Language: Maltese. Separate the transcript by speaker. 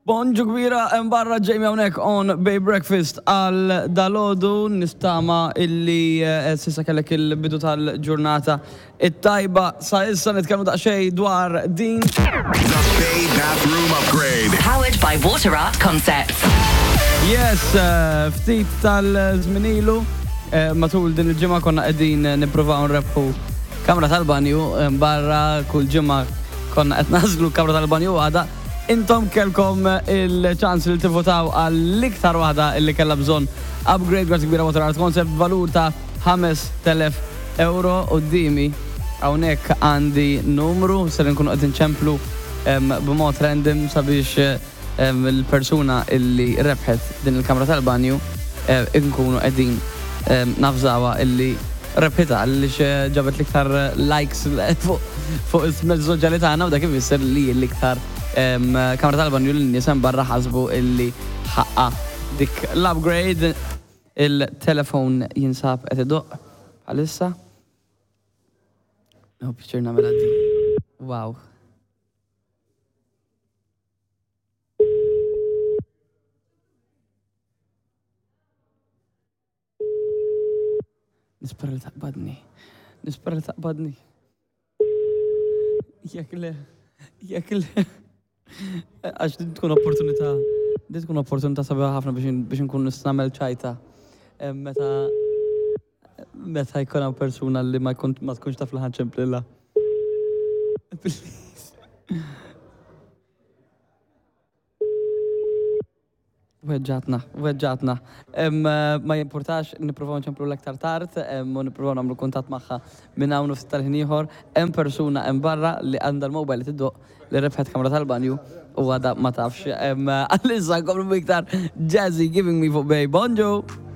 Speaker 1: Bonġu kbira hemm barra Jamie hawnhekk on Bay Breakfast għal dalodu nistama illi eh, sissa kellek il-bidu tal-ġurnata it-tajba sa issa nitkellmu daqsxejn dwar din.
Speaker 2: The Bay Bathroom Upgrade.
Speaker 3: Powered by Water Art Concepts.
Speaker 1: Yes, eh, ftit tal-żminilu eh, matul din il-ġimgħa konna qegħdin nippruvaw nrebħu kamra tal-banju barra kull ġimgħa konna qed nażlu kamra tal-banju għada. Intom kellkom il-ċans li tivvotaw għall-iktar waħda li kellha bżonn upgrade. Grazzi kbira Water Art Concept valur ta' 5000 euro. Quddiemi hawnhekk għandi numru ser inkunu qed inċemplu b'mod random sabiex il-persuna illi rebħet din il-kamra tal-banju inkunu qegħdin navżawha illi rebħitha għaliex ġabet l-iktar likes fuq il-mezzi soċjali tagħna u dak ifisser li l-iktar kamra tal-banju li n-nies hemm barra ħasbu illi ħaqqa dik l-upgrade. Il-telefon jinsab qed idoqq bħalissa. Nieħu pjaċir nagħmilha din. Wow. Nispera li taqbadni. Nispera li taqbadni. Jekk le, jekk le. Għax din tkun opportunità, din tkun opportunità sabiħa ħafna biex nkun nista' nagħmel ċajta. Meta meta jkun hawn persuna li ma jkun ma tkunx taf li ħanċemplilha. Please. Weġġatna, weġġatna. Ma jimpurtax, nippruvaw nċemplu l-aktar tard u nippruvaw nagħmlu kuntatt magħha minn hawn u ftit tal-ħin ieħor. Hemm persuna hemm barra li għandha l-mobile li tiddoqq li rebħet kamra tal-banju u għadha ma tafx. Għalissa nkomplu b'iktar Jazzy Giving Me fuq Bay. Bonġu!